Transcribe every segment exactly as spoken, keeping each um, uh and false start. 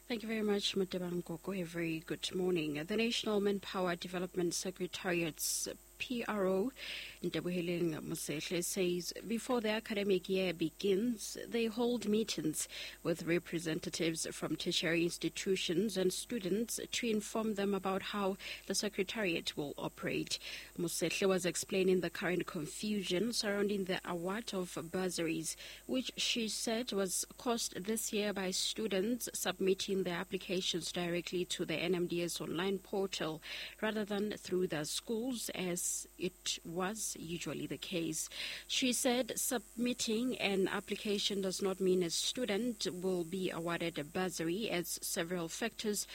Thank you very much, Motebang Koko. A very good morning. The National Manpower Development Secretariat's P R O, Nteboheleng Mosehle, says before the academic year begins, they hold meetings with representatives from tertiary institutions and students to inform them about how the Secretariat will operate. Mosehle was explaining the current confusion surrounding the award of bursaries, which she said was caused this year by students submitting their applications directly to the N M D S online portal rather than through their schools, as it was usually the case. She said submitting an application does not mean a student will be awarded a bursary, as several factors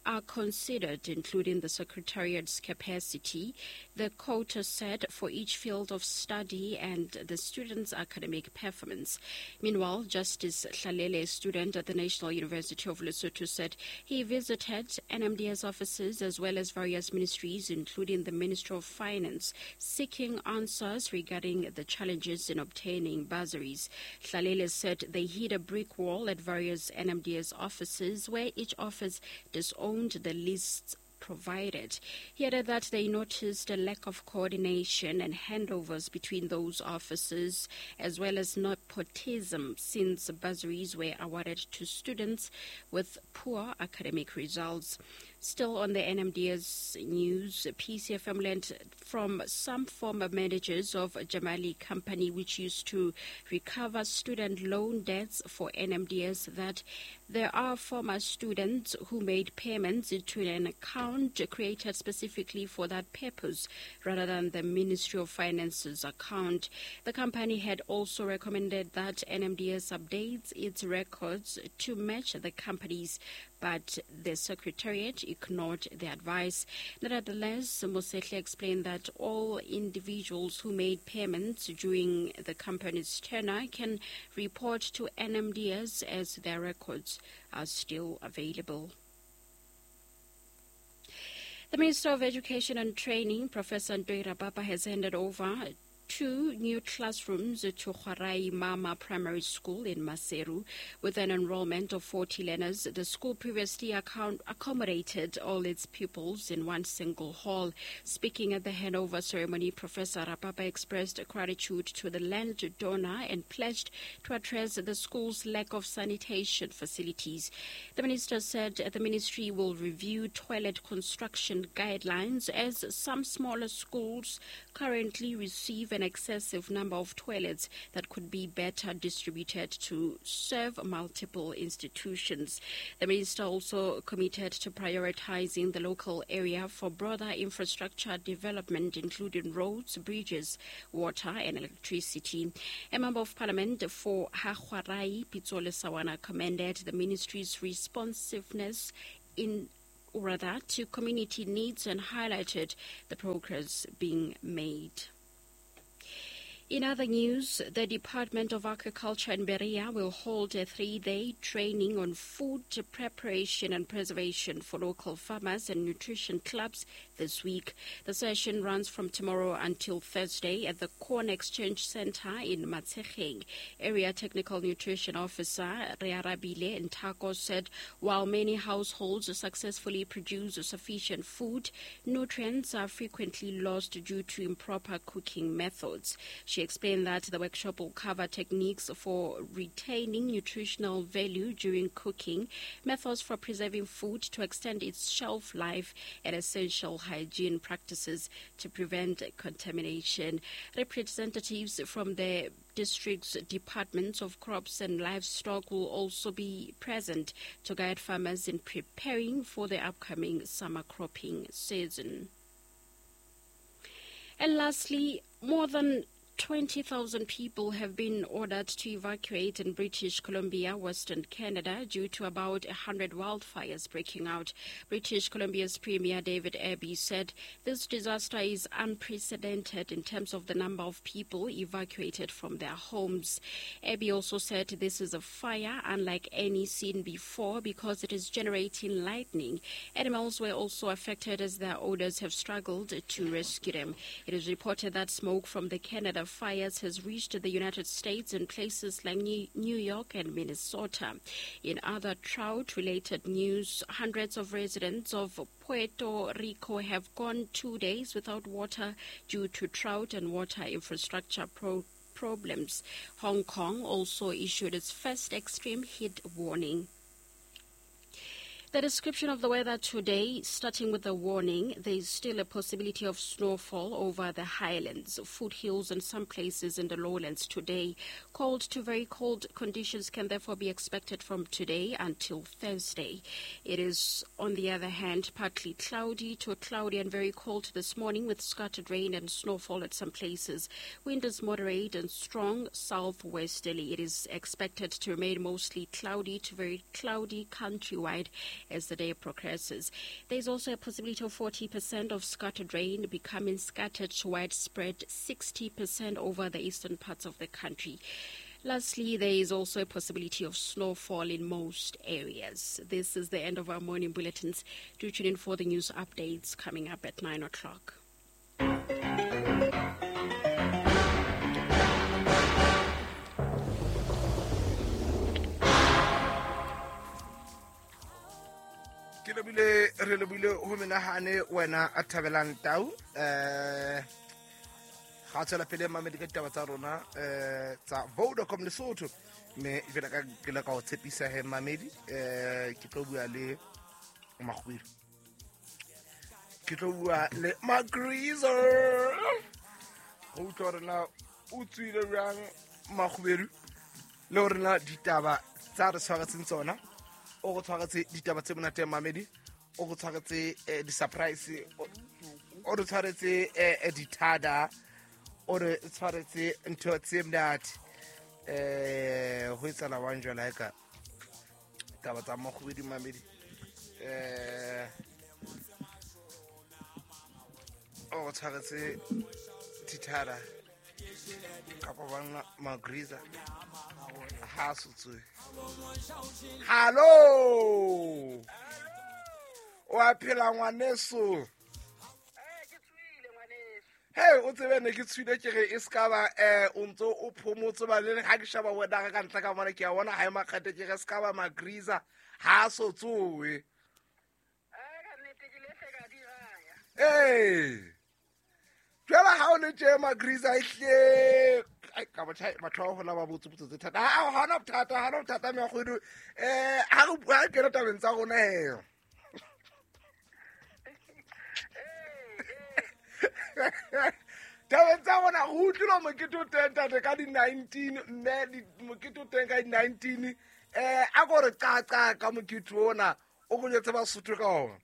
are considered, including the Secretariat's capacity, the quota set for each field of study, and the student's academic performance. Meanwhile, Justice Hlalele, a student at the National University of Lesotho, said he visited N M D S offices as well as various ministries, including the Ministry of Finance, seeking answers regarding the challenges in obtaining bursaries. Hlalele said they hit a brick wall at various N M D S offices, where each office disowned the lists provided. He added that they noticed a lack of coordination and handovers between those offices, as well as nepotism, since bursaries were awarded to students with poor academic results. Still on the N M D S news, P C F M learned from some former managers of Jamali Company, which used to recover student loan debts for N M D S, that there are former students who made payments into an account created specifically for that purpose rather than the Ministry of Finance's account. The company had also recommended that N M D S updates its records to match the company's, but the Secretariat ignored the advice. Nevertheless, Mosehle explained that all individuals who made payments during the company's tenure can report to N M D S, as their records are still available. The Minister of Education and Training, Professor Ntoi Rapapa, has handed over two new classrooms to Khwarai Mama Primary School in Maseru. With an enrollment of forty learners, the school previously account- accommodated all its pupils in one single hall. Speaking at the handover ceremony, Professor Rapapa expressed gratitude to the land donor and pledged to address the school's lack of sanitation facilities. The minister said the ministry will review toilet construction guidelines, as some smaller schools currently receive an excessive number of toilets that could be better distributed to serve multiple institutions. The minister also committed to prioritizing the local area for broader infrastructure development, including roads, bridges, water and electricity. A member of parliament for Ha-Khwarai, Pitsole Sawana, commended the ministry's responsiveness in or rather to community needs and highlighted the progress being made. In other news, the Department of Agriculture in Berea will hold a three-day training on food preparation and preservation for local farmers and nutrition clubs this week. The session runs from tomorrow until Thursday at the Corn Exchange Center in Matshegeng. Area Technical Nutrition Officer Rearabile Ntako said while many households successfully produce sufficient food, nutrients are frequently lost due to improper cooking methods. She explained that the workshop will cover techniques for retaining nutritional value during cooking, methods for preserving food to extend its shelf life, and essential hygiene practices to prevent contamination. Representatives from the district's departments of crops and livestock will also be present to guide farmers in preparing for the upcoming summer cropping season. And lastly, more than twenty thousand people have been ordered to evacuate in British Columbia, Western Canada, due to about one hundred wildfires breaking out. British Columbia's Premier David Eby said this disaster is unprecedented in terms of the number of people evacuated from their homes. Eby also said this is a fire unlike any seen before because it is generating lightning. Animals were also affected as their owners have struggled to rescue them. It is reported that smoke from the Canada fires has reached the United States in places like New York and Minnesota. In other drought-related news, hundreds of residents of Puerto Rico have gone two days without water due to drought and water infrastructure pro- problems. Hong Kong also issued its first extreme heat warning. The description of the weather today, starting with the warning, there is still a possibility of snowfall over the highlands, foothills and some places in the lowlands today. Cold to very cold conditions can therefore be expected from today until Thursday. It is, on the other hand, partly cloudy to cloudy and very cold this morning with scattered rain and snowfall at some places. Wind is moderate and strong southwesterly. It is expected to remain mostly cloudy to very cloudy countrywide as the day progresses. There is also a possibility of forty percent of scattered rain becoming scattered to widespread sixty percent over the eastern parts of the country. Lastly, there is also a possibility of snowfall in most areas. This is the end of our morning bulletins. Do tune in for the news updates coming up at nine o'clock. Ke lebile re lebile ho menahane wena a thabelang tau eh ga tswela pele mamedi ka ditaba tsa rona eh tsa Vodacom Lesotho mme jwale ka ke le ka o tshepisa he mamedi eh ke tlo bua le Magwiri, ke tlo bua le Magrizer go utlwa hore na o tswile jwang Magweru le hore na ditaba tsa re tshwaretseng tsona o go tshwaretse ditaba tse monate mamedi o go tshwaretse di-surprise o re tshwaretse dithada o re tshwaretse ntho tse monate um ho etsala wang jwale ha eka taba tsa Magwedi mamedi um o go tshwaretse dithada kapa bana Magriza ha sotswe. Hallo, wa phela ngwaneso? Hey, o tsebe ne ke tshwile ke re e ska ba eh o ntso o phomotse ba le ha ke shaba wena ka ntle ka mona ke a bona ha e makgate ke re ska ba Magriza ha sotsoe. Hey, jwale ha o le tje Magriza ehle ai ka botha batho ba hola ba botse botse thata ha hona bothata ha hona bothata me kgwedu eh ha re bua ke re tabeng tsa rona he tabeng tsa rona go utlwile mokete o teng tate ka di nineteen mme mokete o teng ka di nineteen eh a go re qaqa ka mokete ona o go jetse Basotho ka ona.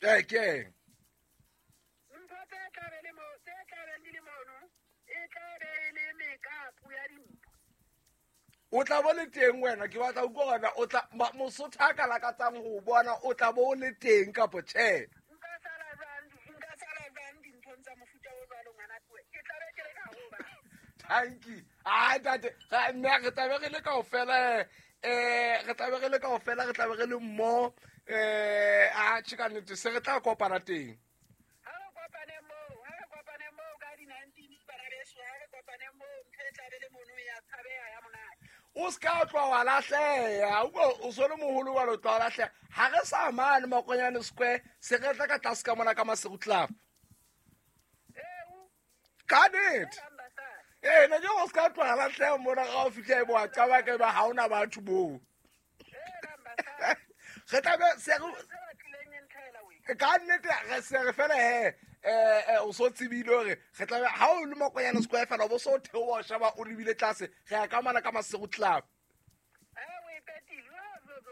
Okay. O tla bo le teng wena ke batla utlwa gona o tla Mosotho a ka lakatsang go bona o tla bo le teng kapo tjhe? Nka sala jwang nka sala jwang dinthong tsa mofuta o jwalo ngwana twe ke tla be ke le ka ho ba. Thank you. Ai tate ga mme re tla be re le kaofela eh re tla be re le kaofela re tla be re le mmo eh a tjhe ka nnete se re tla kopana teng. Ha re kopane moo ha re kopane moo ka di nineteen bana beso ha re kopane moo ntho e tla be le mono ya tshabeha ya monate. O ska tloha wa lahleha o so le moholo wa lo tloha lahleha ha re sa mane Makonyane Square se re tla ka tlase ka mona ka Maseru Club. Ka nnete ee ne ke go ska tloha lahleha mona ga o fihla e bo a qaba ke ba ha ona batho boo re tla be se re ka nnete re se re fela he eh o so tsebile hore re tla ha o le Makonyane Square fela bo so theoha shaba o lebile tlase re ya ka mana ka Maseru Club. Eh o ipetile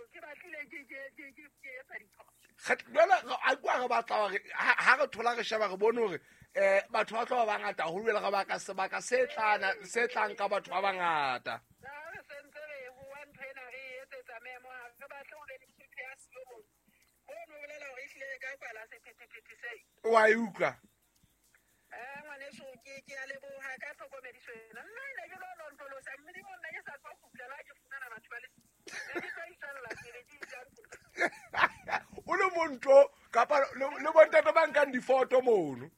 ke batlile ke ke ke ke etsa diphoso re jwale a kwa re batla hore ha re thola re shaba re bone hore um batho ba tlo ba bangata haholo jwale ga ba ka sebaka se tlana se tlang ka batho ba bangata. Wa e utlwa? O le monto kapa le bontate ba nkang difoto mono.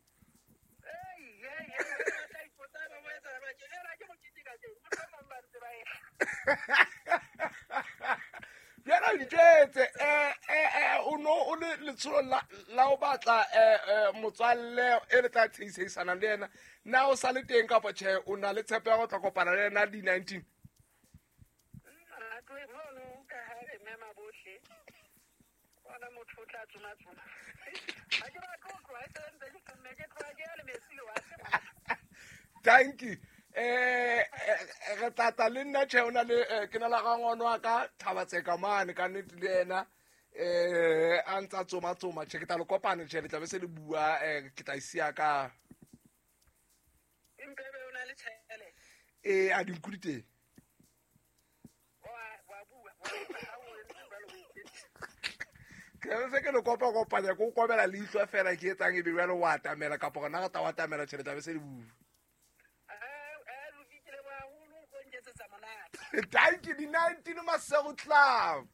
Jana ntjwetse eh eh o no o le letsholo la o batla eh motswalle e le tla tsheisana le yena na o sa le teng kapa tjhe o na le tshepo ya go tla kopana le yena di nineteen? Thank you. Eh re tata le nna tjhe ona le ke na la ga ngwana wa ka Thabatseka mane ka nnete le yena eh a ntsa tsoma tsoma tjhe ke tla le kopana tjhe le tla be se le bua eh ke tla isia ka impebe ona le tjhele eh a dinku di teng wa wa bua wa ke se ke le kopa kopanya ko kobela leihlo fela ke etsang e be jwale wa atamela kapa gona re tla wa atamela tjhe le tla be se le bua. Thank you, the nineteen Maseru Club.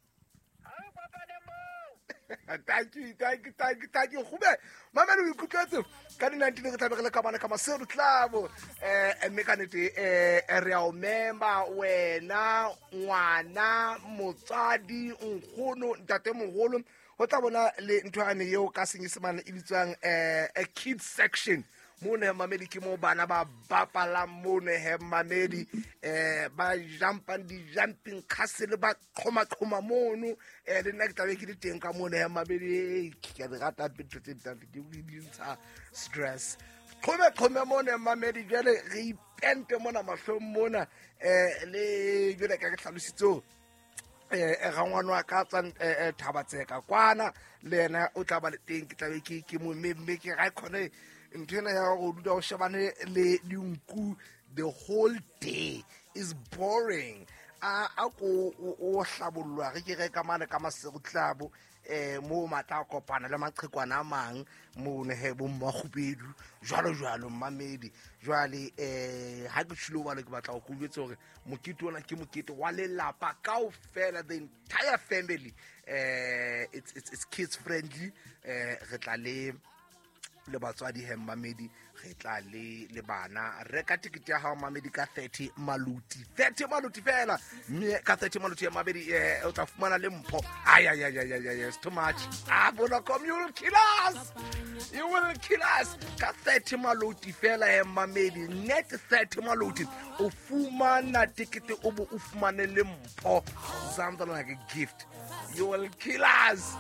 Thank you, thank you, thank you, thank you. Gobe, mama le ikutlwetse ka di nineteen re tla be re le ka bana ka Maseru Club. Eh mme ka nete eh re a o memba wena ngwana motswadi nkgono ntate moholo ho tla bona le ntho ane eo ka senyesemane e bitswang eh a kids section. Mo ne mamedi ke mo bana ba bapalang mo ne he mamedi eh ba jumpang di jumping castle ba qhoma qhoma mono eh le nna ke tlabe ke le teng ka mo ne he mamedi ke di rata ntho tse di di ntsha stress qhome qhome mo ne mamedi jwale re ipente mona mahlong mona eh le jwale ka ke hlalositse eh rangwana wa ka tsang Thabatseka kwana le yena o tla ba le teng ke tlabe ke ke mo mme ke ga khone ntho ena ya go dula o shebane le dinku the whole day is boring. A a ko o hlabollwa re ke re ka mane ka Maseru Club eh mo matla kopana le maqhekwana a mang mo ne he bo mmakgupedu jwalo jwalo mmamedi jwale eh ha ke tshilo balo ke batla go kubetse hore mokete ona ke mokete wa lelapa kaofela the entire family eh it's it's it's kids friendly eh re tla le le batswadi he mmamedi re tla le le bana reka tikete ya hao mamedi ka thirty maluti thirty maluti fela mme ka thirty maluti ya mamedi eh o tla fumana le mpho ay ay ay ay ay it's too much ah Vodacom you will kill us you will kill us ka thirty maluti fela he mamedi net thirty maluti o fumana tikete o bo o fumane le mpho something like a gift. You will kill us.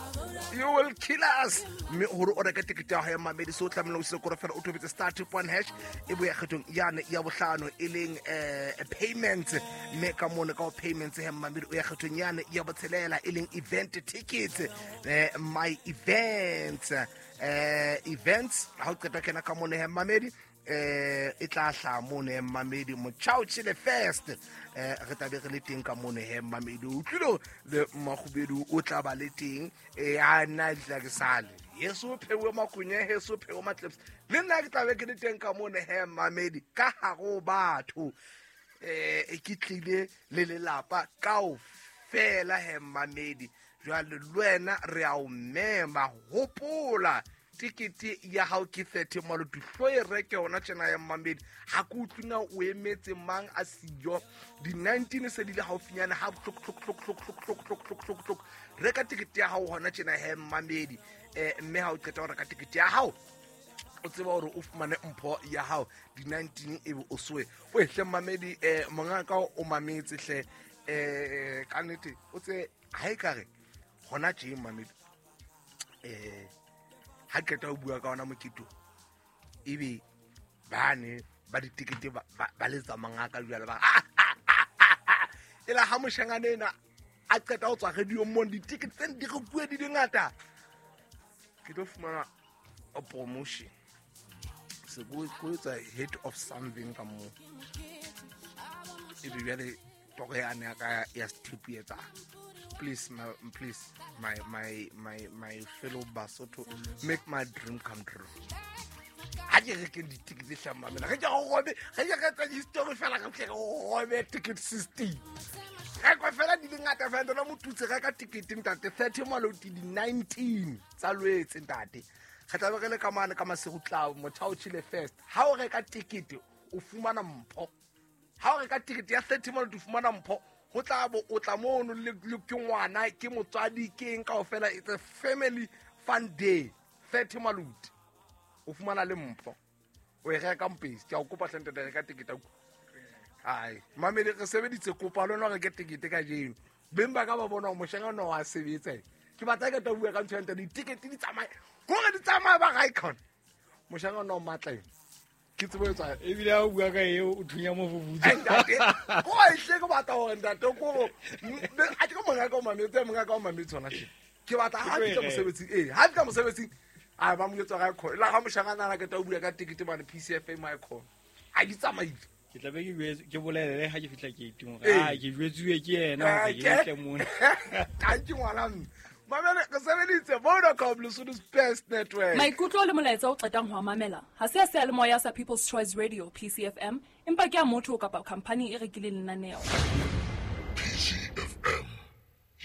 You will kill us. Me hore o reka tikete ya hao ya mamedi so tlamehile o se kore fela o tobetse star two point hash e boya kgethong yane ya bohlano e leng eh payments mme ka mona ka payments he mamedi o ya kgethong yane ya botshelela e leng event tickets eh my events eh events ha o qeta kena ka mona he mamedi eh e tla hla mone he mamedi Mochao Chile Fest eh re tla be re le teng ka mone he mamedi o tlilo le Makgubedu o tla ba le teng eh a nna tla ke sale yeso phewe makunye heso phewe matlips le nna ke tla be ke le teng ka mone he mamedi ka haro batho eh ke tlile le lelapa kaofela he mamedi jwale le wena re a o mema hopola tikete ya hao ke thirty maluti hlo e reke hona tjena ya mmamedi ha ke utlwe na o emetse mang a siyo di nineteen se di le haufinyana ha tlok tlok tlok tlok tlok tlok tlok tlok tlok tlok reka tikete ya hao hona tjena he mmamedi eh mme ha o qeta ho reka tikete ya hao o tseba hore o fumane mpho ya hao di nineteen e be o soe o hle mmamedi eh mongaka o mametse hle eh ka nnete o tse ha e kare hona tje mmamedi eh ha qeta ho bua ka ona mokete ebe bane ba ditikete ba letsa mangaka jwale ba ela ha moshangane ena a qeta ho tswa radio mong ditikete tse di re bua di dingata ke tlo fumana a promotion Se ko ko etsa head of something ka moo. Ebe jwale toro yane ya ka ya sethepu e etsang. Please, my, please, my, my, my, my fellow Basotho, make my dream come true. Ha ke rekeng ditekete hle mamela. Ge ke go robe, ge ke re tsa history fela re tle re robe ticket system. Reka fela di le ngata fela ntate Motutsi reka ticket ntate thirty Maloti di nineteen tsa Lwetse ntate. Re tla be re le ka mane ka Maseru Club Motho o Chile Fest. Ha o reka ticket o fumana mpho. Ha o reka ticket ya thirty Maloti o fumana mpho. Ho tla bo o tla mono le ke ngwana ke motswadi ke eng kaofela, it's a family fun day. thirty Maloti o fumana le mpho. O e reka mpesi. Ke a o kopa hle ntate reka ticket. Ai, mamele re sebeditse kopa lona re ke ticket kajeno. Beng ba ka ba bona moshanyana wa sebetsa. Ke batla ke tla bua ka ntho ya ntate ditikete di tsamaye. Gore di tsamaye ba ga icon. Moshanyana o matla eng. Ke tsebo e tswa ebile ha o bua ka eo o thunya mofufutso. Ntate, go a ihle ke batla hore ntate ko a ke monga ka o mametse monga ka o mametse hona tje. Ke batla ha ke tla mosebetsing eh ha ke tla mosebetsing a ba mo etsa ga icon. La ga moshanyana ke tla bua ka ticket mane P C F M icon. A di tsamaile. Ke tla be ke ke bolelele ha ke fihla ke iting hore ah ke jwetsuwe ke yena hore ke tle mona. Thank you ngwana mme. Mamele re sebeditse Vodacom Lesotho's best network. Maikutlo le molaetsa o qetang ho mamela ha se a seyalemoya sa People's Choice Radio P C F M empa ke a motho kapa company e rekileng lenaneo. P C F M,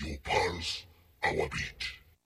your pulse, our beat.